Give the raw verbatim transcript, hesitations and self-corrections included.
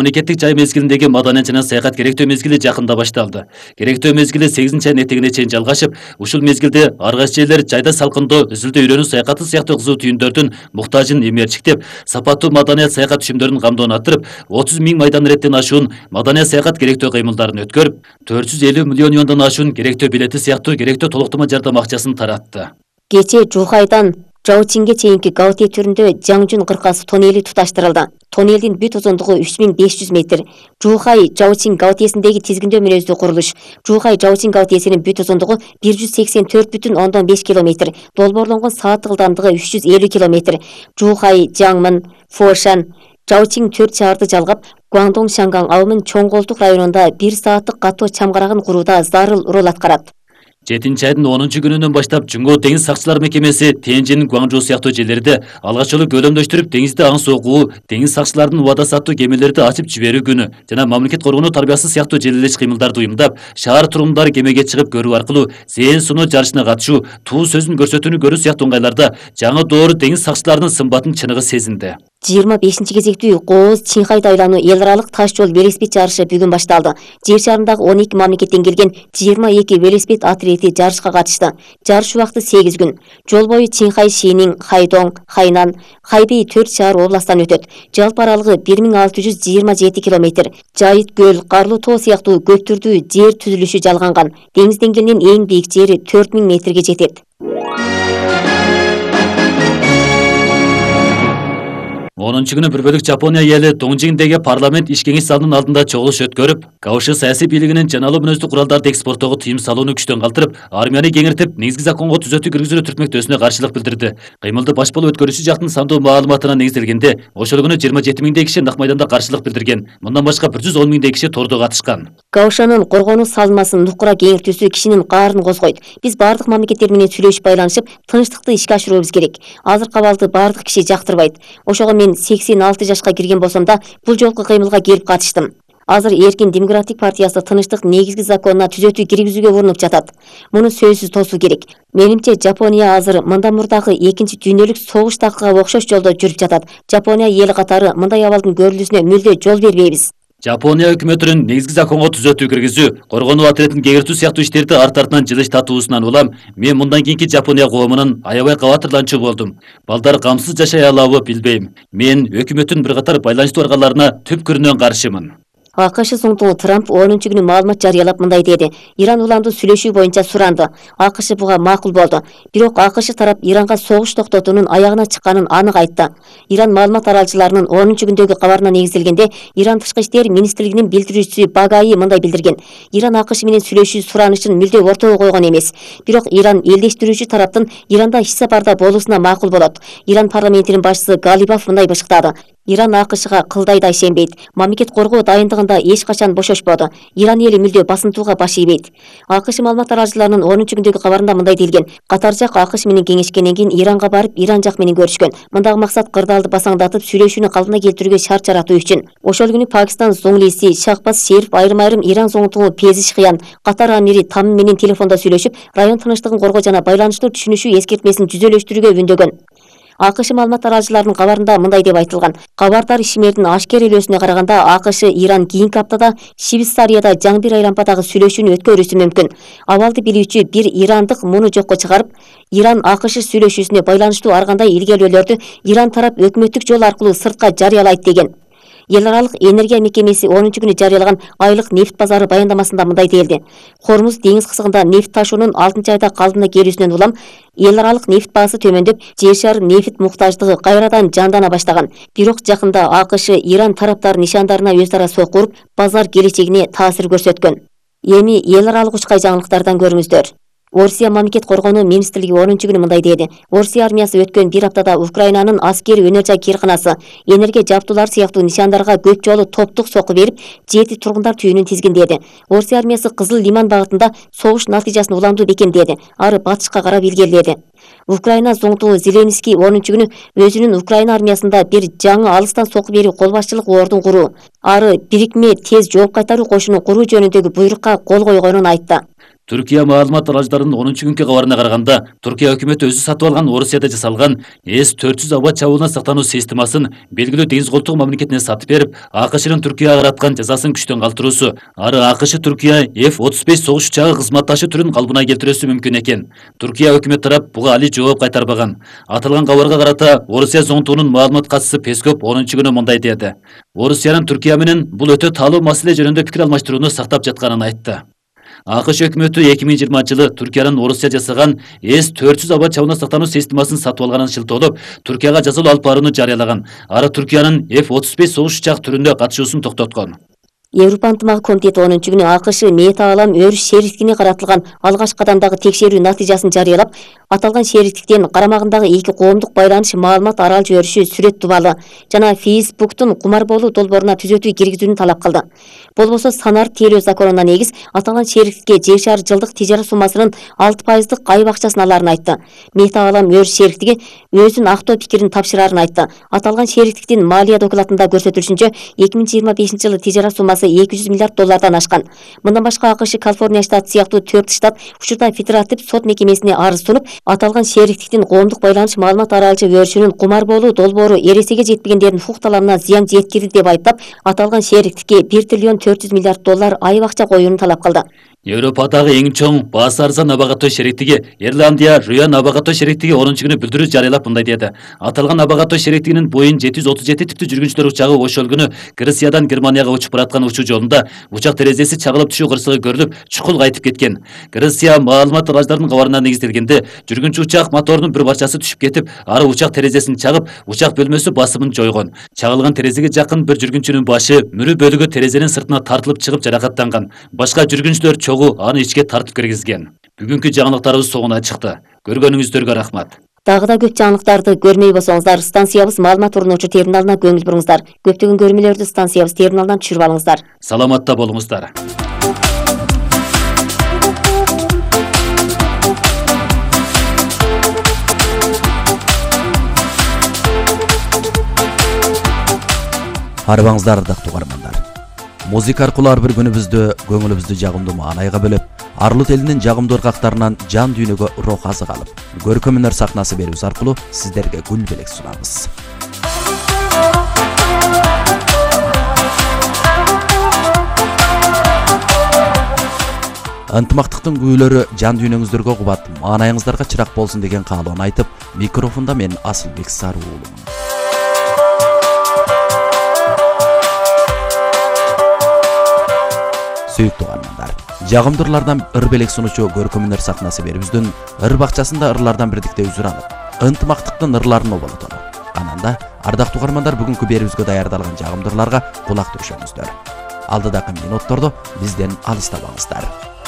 Мамлекеттик жай мезгилиндеги маданият жана саякат керектөө мезгили жакында башталды. Керектөө мезгили сегизинчи айдын этегине чейин жалгашып, ушул мезгилде ар кайсы жерлер жайда салкындоо, үзүлдө үйрөнүү саякаты сыяктуу кызуу түйүндөрдүн муктажын эмерчиктеп, сапаттуу маданият саякат түшүмдөрүнүн камдоон арттырып, отуз миң майдан реттен ашуун маданият саякат керектөө кыймылдарын өткөрүп, төрт жүз элүү миллион юандан ашуун керектөө билети сыяктуу керектөө толуктама жардам акчасын таратты. Кечээ Жухайдан Жаочинге чейинки Гаути түрүндө Жаңжун кыркасы тоннели туташтырылды. Тоннелдин бүт узундугу үч миң беш жүз метр. Жухай Жаочин Гаутиесиндеги тизгиндөө мүнөздүү курулуш. Жухай Жаочин Гаутиесинин бүт узундугу бир жүз сексен төрт бүтүн ондон беш километр. Долбоорлонгон сааттык ылдамдыгы үч жүз элүү километр. Жухай, Жаңмын, Фошан, Жаочин төрт шаарды жалгап, Гуандong Шанган абымын чоң колтук районунда бир сааттык катуу чамгарагын курууда зарыл роль аткарат. жетинчи айдын онунчу күнүнөн баштап Жумго деңиз сакчылар мекемеси Тенжин, Гуанчжоу сыяктуу жерлерде алгач жолу көлөмдөштүрүп деңизде аң согуу, деңиз сакчыларынын убада саттуу кемелерди ачып жиберүү күнү жана мамлекет коргонуу тарбиясы сыяктуу желелеш кыймылдарды уюмдап, шаар тургундары кемеге чыгып көрүү аркылуу зээн суноо жарышына катышуу, туу сөзүн көрсөтүүнү көрүү сыяктуу ыңгайларда жаңы доор деңиз сакчыларынын сымбатын чыныгы сезинди. жыйырма бешинчи кезектүү Кооз Чинхайды айлануу эл аралык таш жол велосипед жарышы бүгүн башталды. Жер шарындагы он эки мамлекеттен келген жыйырма эки велосипед атлети жарышка катышты. Жарыш убакыты сегиз күн. Жол бою Чинхай, Шинин, Хайдоң, Хайнан, Хайбей төрт шаар областтан өтөт. Жалпы аралыгы бир миң алты жүз жыйырма жети километр. Жайыт көл, Карлуу тоо сыяктуу көптүрдүү жер түзүлүшү жалганган. Деңиз деңгээлинин эң бийик жери төрт миң метрге жетет. онунчу күнү бір бөлүк Жапония эли Доңжиңдеги парламент иш кеңеш залынын алдында чогулуш өткөрүп, Кауши саясий бийлигинин жаналуу мүнөздүү куралдарды экспорттоого тыйым салууну күчтөн калтырып, армияны кеңиртип, негизги законго түзөтүү киргизүүнү түртмөктөөсүнө каршылык билдирди. Кыймылды баш болуп өткөрүүчү жактын сандуу маалыматына негизделгенде, ошол күнү жыйырма жети миңдей киши нак майданда каршылык билдирген. Мындан башка бир жүз он миңдей киши тордо катышкан. Каушанын коргонуу салмасын нукура кеңиртүүсү кишинин каарын козгойт. Биз бардык мамлекеттер менен сүйлөшүп байланышып, тынчтыкты ишке ашыруубуз керек. Азыркы абалды бардык киши жактырбайт. Ошого мен сексен алты жашка кирген болсом да, бул жолку кыймылга келип катыштым. Азыр Эркин демократик партиясы тынчтык негизги законуна түзөтүү киргизүүгө урунуп жатат. Муну сөзсүз тосуу керек. Менимче Жапония азыр мындан мурдагы экинчи дүйнөлүк согуш такыга окшош жолдо жүрүп жатат. Жапония эли катары мындай абалдын көрүлүүсүнө мүлдө жол бербейбиз. Жапония өкмөтүнүн негизги законго түзөтүү киргизүү, коргонуу атлетин кеңиртүү сыяктуу иштерди арт артынан жылыш татуусунан улам, мен мындан кийинки Жапония коомунун аябай кабатырланчу болдум. Балдар камсыз жашай алабы билбейм. Мен өкмөттүн бир катар байланыштуу аргаларына түпкүрүнөн каршымын. АКШ соңтугу Трамп онунчу күнү маалымат жарыялап мындай деди. Иран уланды сүйлөшүү боюнча суранды. АКШ буга макул болду. Бирок АКШ тарап Иранга согуш токтотуунун аягына чыкканын анык айтты. Иран маалымат аралчыларынын онунчу күндөгү кабарына негизделгенде, Иран тышкы иштер министрлигинин билдирүүчүсү Багаи мындай билдирген. Иран АКШ менен сүйлөшүү суранышын мүлдө ортого койгон эмес. Бирок Иран элдештирүүчү тараптын Иранда иш сапарда болуусуна макул болот. Иран парламентинин башчысы Галибаф мындай бышыктады. Иран АКШга кылдай да ишенбейт. Мамлекет коргоо дайындыгында эч качан бошошподу. Иран эли мүлдө басынтууга баш ийбейт. АКШ маалымат аралчыларынын онунчу күндөгү кабарында мындай делген. Катар жак АКШ менен кеңешкенден кийин Иранга барып, Иран жак менен көрүшкөн. Мындагы максат кырдаалды басаңдатып, сүйлөшүүнү калпына келтирүүгө шарт жаратуу үчүн. Ошол күнү Пакистан зоңлиси Шахбаз Шериф айрым-айрым Иран зоңтугу Пезишхиян, Катар амири Там менен телефондо сүйлөшүп, район тынчтыгын коргоо жана байланыштуу түшүнүшүү эскертмесин жүзөлөштүрүүгө үндөгөн. АКШ маалымат аралчыларынын кабарында мындай деп айтылган. Кабардар ишмердин ашкерелөөсүнө караганда АКШ Иран кийинки аптада Швейцарияда жаңы бир айлампадагы сүйлөшүүнү өткөрүүсү мүмкүн. Абалды билүүчү бир ирандык муну жокко чыгарып, Иран АКШ сүйлөшүүсүнө байланыштуу ар кандай илгерүүлөрдү Иран тарап өкмөттүк жол аркылуу сыртка жарыялайт деген. Эл аралык энергия мекемеси онунчу күнү жарыялаган айлык нефт базары баяндамасында мындай делди. Хормуз деңиз кысыгында нефт ташуунун алтынчы айда калыбына келүүсүнөн улам эл аралык нефт баасы төмөндөп, жер шары нефт муктаждыгы кайрадан жандана баштаган. Бирок жакында АКШ Иран тараптар нишандарына өз ара сокку уруп, базар келечегине таасир көрсөткөн. Эми эл аралык учкай жаңылыктардан көрүңүздөр. Орусия мамлекет коргонуу министрлиги онунчу күнү мындай деди. Орусия армиясы өткөн бир аптада Украинанын аскери өнөр жай кирканасы, энергия жабдуулар сыяктуу нишандарга көп жолу топтук сокку берип, жети тургундар түйүнүн тизгиндеди. Орусия армиясы Кызыл Лиман багытында согуш натыйжасын уламдуу бекемдеди. Ары батышка карап илгериледи. Украина зоңтугу Зеленский онунчу күнү өзүнүн Украина армиясында бир жаңы алыстан сокку берүү кол башчылык ордун куруу, ары бирикме тез жооп кайтаруу кошунун куруу жөнүндөгү буйрукка кол койгонун айтты. Түркия маалымат аралыштарынын онунчу күнкү кабарына караганда, Түркия өкмөтү өзү сатып алган Орусияда жасалган эс төрт жүз аба чабуулуна сактануу системасын белгилүү деңиз колтугу мамлекетине сатып берип, АКШнын Түркияга караткан жазасын күчтөн калтыруусу, ары АКШ Түркия эф отуз беш согуш учагы кызматташы түрүн калыбына келтирүүсү мүмкүн экен. Түркия өкмөт тарап буга али жооп кайтарбаган. Аталган кабарга карата Орусия зоңтугунун маалымат катчысы Пескоп онунчу күнү мындай деди. Орусиянын Түркия менен бул өтө таалуу маселе жөнүндө пикир алмаштырууну сактап жатканын айтты. АКШ өкмөтү эки миң жыйырманчы жылы Түркиянын Орусия жасаган эс төрт жүз аба чабуулуна сактануу системасын сатып алганын шылтоолоп, Түркияга жазалуу алып барууну жарыялаган. Ары Түркиянын эф отуз беш согуш учак түрүндө катышуусун токтоткон. Европа ынтымак комитети онунчу күнү АКШ Метаалам өрүш шериктигине каратылган алгачкы кадамдагы текшерүү натыйжасын жарыялап, аталган шериктиктен карамагындагы эки коомдук байланыш маалымат аралж өрүшү сүрөт тубалы жана Фейсбуктун кумар болуу долбооруна түзөтүү киргизүүнү талап кылды. Болбосо санар тейлөө законуна негиз аталган шериктикке жер шары жылдык тижара суммасынын алты пайыздык айып акчасын алаарын айтты. Метаалам өрүш шериктиги өзүн актоо пикирин тапшырарын айтты. Аталган шериктиктин малия докладында көрсөтүлүшүнчө эки миң жыйырма бешинчи жылы тижара суммасы эки жүз миллиард доллардан ашкан. Мындан башка АКШ Калифорния штаты сыяктуу төрт штат учурда федератив сот мекемесине арыз сунуп, аталган шериктиктин коомдук байланыш маалымат аралжы өрүшүнүн кумар болуу долбоору эресеге жетпегендердин укук талабына зыян жеткирди деп айыптап, аталган шериктикке бир триллион төрт жүз миллиард доллар айып акча коюуну талап кылды. Европадагы эң чоң баасы арзан аба катоо шериктиги Ирландия Руян аба катоо шериктиги онунчу күнү билдирүү жарыялап мындай деди. Аталган аба катоо шериктигинин Боeing жети жүз отуз жети типтүү жүргүнчүлөр учагы ошол күнү Грециядан Германияга учуп бараткан учуу жолунда учак терезеси чагылып түшүү кырсыгы көрүлүп, чукул кайтып кеткен. Греция маалымат аралыштарынын кабарына негизделгенде, жүргүнчү учак моторунун бир барчасы түшүп кетип, ары учак терезесин чагып, учак бөлмөсү басымын жойгон. Чагылган терезеге жакын бир жүргүнчүнүн башы мүрү бөлүгү терезенин сыртына тартылып чыгып жаракаттанган. Башка жүргүнчүлөр чогуу аны ичке тартып киргизген. Бүгүнкү жаңылыктарыбыз соңуна чыкты. Көргөнүңүздөргө рахмат. Дагы да көп жаңылыктарды көрмөй болсоңуздар, станциябыз маалымат орнотуучу терминалына көңүл буруңуздар. Көптөгөн көрмөлөрдү станциябыз терминалынан түшүрүп алыңыздар. Саламатта болуңуздар. Арыбаңыздар ардактуу угармандар. Музыка аркылуу ар бир күнүбүздү, көңүлүбүздү жагымдуу маанайга бөлөп, Арлыт элинин жагымдуу ыргактарынан жан дүйнөгө рух азык алып, көркөм өнөр сахнасы берүүбүз аркылуу сиздерге гүл белек сунабыз. Ынтымактыктын күүлөрү жан дүйнөңүздөргө кубат, маанайыңыздарга чырак болсун деген каалоону айтып, микрофондо мен Асылбек Сары уулумун. Сүйүктүү угармандар, жагымдырлардан ыр белек сунуучу көркөм өнөр сахнасы берүүбүздүн ыр бакчасында ырлардан бирдикте үзүр алып, ынтымактыктын ырларын оболотолу. Ананда ардактуу угармандар бүгүнкү берүүбүзгө даярдалган жагымдырларга кулак төшөңүздөр. Алдыдагы минуттордо бизден алыстабаңыздар.